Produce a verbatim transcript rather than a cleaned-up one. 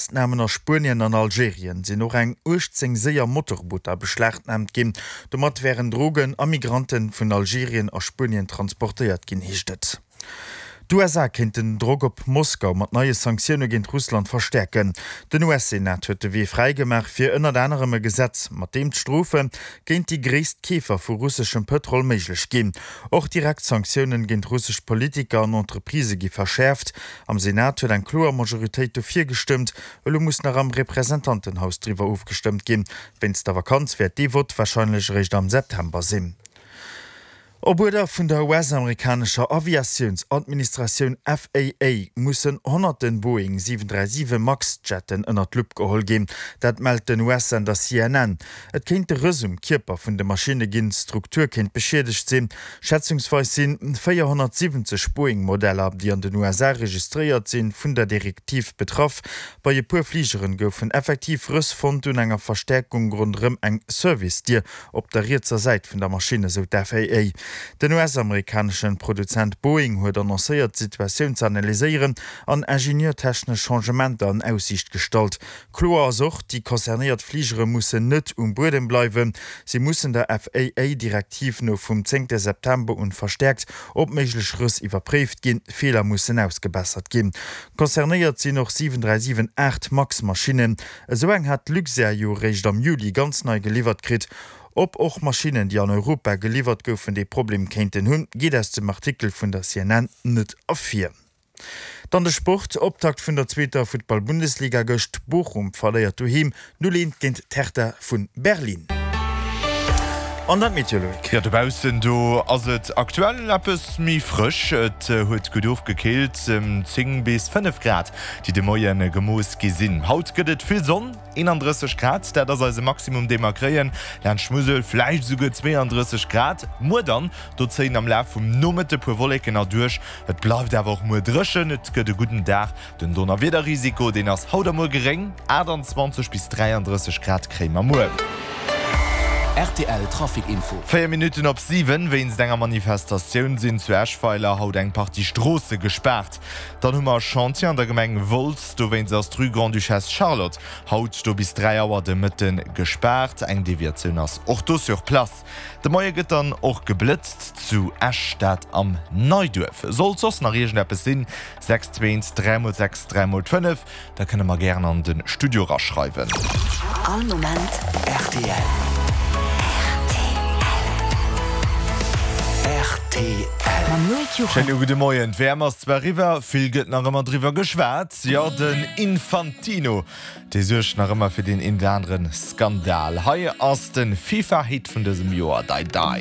Festnamen a Spuenien an Algerien sinn och eng uechtzéng séier Motorbooter beschlagnaamt ginn. Domat wären Drogen a Migrante vun Algerien a Spuenien transportéiert ginn, heescht et. D'U S A kéinten den Drock op Moskau mat neie Sanktioune géint Russland verstäerken. Den U S-Senat huet de Wee fräi gemaach fir ënnert anerem e Gesetz, mat deem d'Strofe géint déi gréisst Keefer vu russeschem Pëtrol méiglech ginn. Och direkt Sanktiounen géint russesch Politiker an Entreprisë gi verschäerft. Am Senat huet eng kloer Majoritéit dofir gestëmmt. Elo muss nach am Representantenhaus driwwer ofgestëmmt ginn. Wéinst der Vakanz wäert dee Vott warscheinlech eréischt am September sinn. Op Uerder vun der U S-amerikanescher Aviatiounsadministratioun F A A mussen honnerten Boeing siwen dräi siwen Max-Jetten ënner d'Lupp geholl ginn. Dat mellt den U S-Sender C N N. Et kéinte Rëss um Kierper vun de Maschinne ginn, d'Struktur kéint beschiedegt sinn. Schätzungsweis si véierhonnertsiwwenzeg Boeing-Modeller, déi an den U S A registréiert sinn, vun der Direktiv betraff. Bei e puer Fligeren goufen effektiv Rëss fonnt un enger Verstäerkung ronderëm eng Service-Dier op der rietser Säit vun der Maschinn, esou d'F A A. Den U S-amerikaneschen Produzent Boeing huet annoncéiert, d'Situatioun ze analyséieren an ingenieurtechnesch Changementer an Aussiicht gestallt. Kloer ass och, déi concernéiert Fligere mussen net um Buedem bleiwen. Si mussen der F A A-Direktiv no vum zéngte September un verstäerkt op méiglech Rëss iwwerpréift ginn, Feeler mussen ausgebessert ginn. Concernéiert sinn och siwen dräi siwen aacht Max-Maschinnen. Esou eng hat d'Luxair jo réischt am Juli ganz nei geliwwert kritt. Ob och Maschinnen, déi an Europa geliwwert goufen, dee Problem kéinten hunn, geet aus dem Artikel vun der C N N net ervir. Dann de Sport, Optakt vun der zweeter Futtball-Bundesliga gëscht, Bochum verléiert doheem null eent géint d'Hertha vu Berlin. An dann d'Meteo, Loïc. Jo, dobaussen do ass et aktuell eppes méi frësch. Et huet gutt ofgekillt, zéng bis fënnef Grad, déi de Moie gemooss gi sinn. Haut gëtt et vill Sonn, eenandrësseg Grad, dat ass eise Maximum, dee mer kréien. Laanscht Musel vläicht esouguer zweeandrësseg Grad. Muer dann, do zéien am Laf vum Nomëtte puer Wolleken erduerch. Et bleift awer och muer dréchen, et gëtt e gudden Dag. Den Donnerwiederrisiko, deen ass haut a muer geréng, aachtanzwanzeg bis dräiandrësseg Grad kréie mer muer. R T L Trafic Info. Véier Minutten op siwen. Wéinst enger Manifestatioun sinn zu Eschweiler haut eng Partie Stroosse gespaart. Dann hu mer Chantier an der Gemeng Wolz, dowéinst ass d'Rue Grande-Duchesse Charlotte haut do bis dräi Auer de Mëtte gespaart. Eng Deviatioun ass och do sur place. De Moie gëtt dann och geblëtzt zu Esch, dat am Neiduerf. Sollt soss nach iergendeppes sinn, sechs zwee eent dräi mol sechs dräi mol fënnef, da kënnt der mer gären an de Studio eraschreiwen. All Moment R T L. R T L. Mam Loïc Juchem. Schéine gudde Moien. D'W M ass zwar eriwwer, vill gëtt nach ëmmer driwwer geschwat. Jo, den Infantino, dee suergt nach ëmmer fir deen een oder anere Skandal. Hei ass de FIFA-Hit vun dësem Joer, Dai Dai.